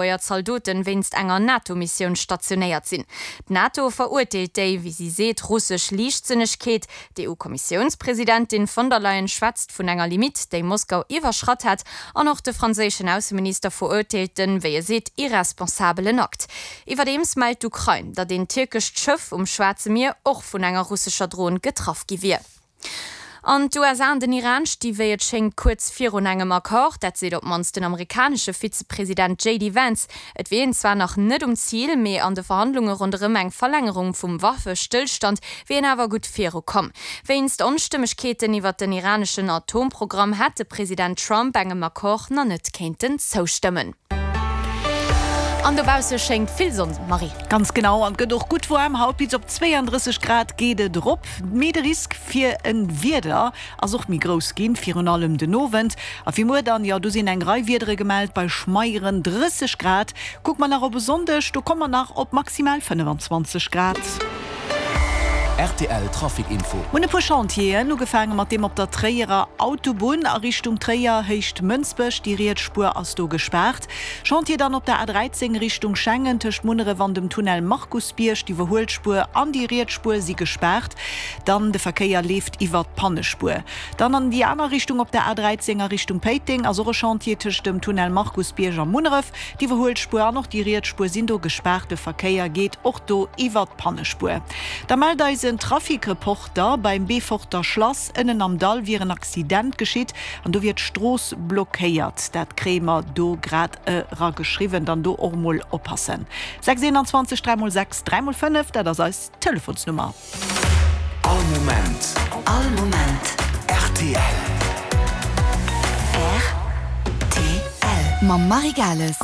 Lëtzebuerger Zaldoten wéinst enger NATO-Missioun stationéiert sinn. D'NATO verurteelt déi, wéi si seet, russesch Liichtsënnegkeet. D'EU-Kommissiounspresidentin von der Leyen schwätzt vun enger Limitt, déi Moskau iwwerschratt hätt. An och de franséischen Ausseminister verurteelt den, wéi e seet, irresponsabelen Akt. Iwwerdeems mellt d'Ukrain, datt een tierkescht Schëff um Schwaarze Mier och vun enger russescher Dron getraff gi wier. An d'USA an den Iran sti wéi et schéngt kuerz virun engem Accord. Dat seet op d'mannst den amerikanesche Vizepresident JD Vance. Et wier een zwar nach net um Zil, mee an de Verhandlunge ronderëm eng Verlängerung vum Waffestëllstand wier een awer gutt virukomm. Wéinst Onstëmmegkeeten iwwer den iraneschen Atomprogramm hätt de President Trump engem Accord nach net kéinten zoustëmmen. An dobausse schéngt vill Sonn, Marie. Ganz genau, an et gëtt och gutt waarm. Haut bis op 32 Grad geet et erop, mee de Risk fir e Wieder ass och méi grouss ginn, virun allem den Owend. A fir muer dann, jo do sinn eng Rei Wiedere gemellt, bei schmeieren 30 Grad. Kucke mer nach op e Sonndeg, do komme mer nach op maximal 25 Grad. Rtl Trafic Info. Mir hunn e puer Chantieren, ugefaange mat deem op der Tréierer Autobunn a Richtung Tréier, Héicht Mënsbech. Déi riets Spuer ass do gespaart. Chantier dann op der A13 Richtung Schengen, tëscht Munneref an dem Tunnel Markusbierg. D'Iwwerhuelspuer an déi riets Spuer si gespaart. Dann de Verkéier leeft iwwert d'Pannespuer. Dann an déi aner Richtung op der A13 a Richtung Péiteng ass och e Chantier tëscht dem Tunnel Markusbierg a Munneref. D'Iwwerhuelspuer an och déi riets Spuer sinn do gespaart. De Verkéier geet och do iwwert d'Pannespuer. Da mellt eis en Trafic-Reporter, beim Beeforter Schlass ënnen am Dall wier en Accident geschitt an do wier d'Strooss blockéiert. Dat kréie mer do grad erageschriwwen. Dann do och mol oppassen. 6 21 3 mol 6 3 mol 5, dat ass eis Telefonsnummer. All Moment. All Moment. Rtl. Rtl. Mam Marie Gales.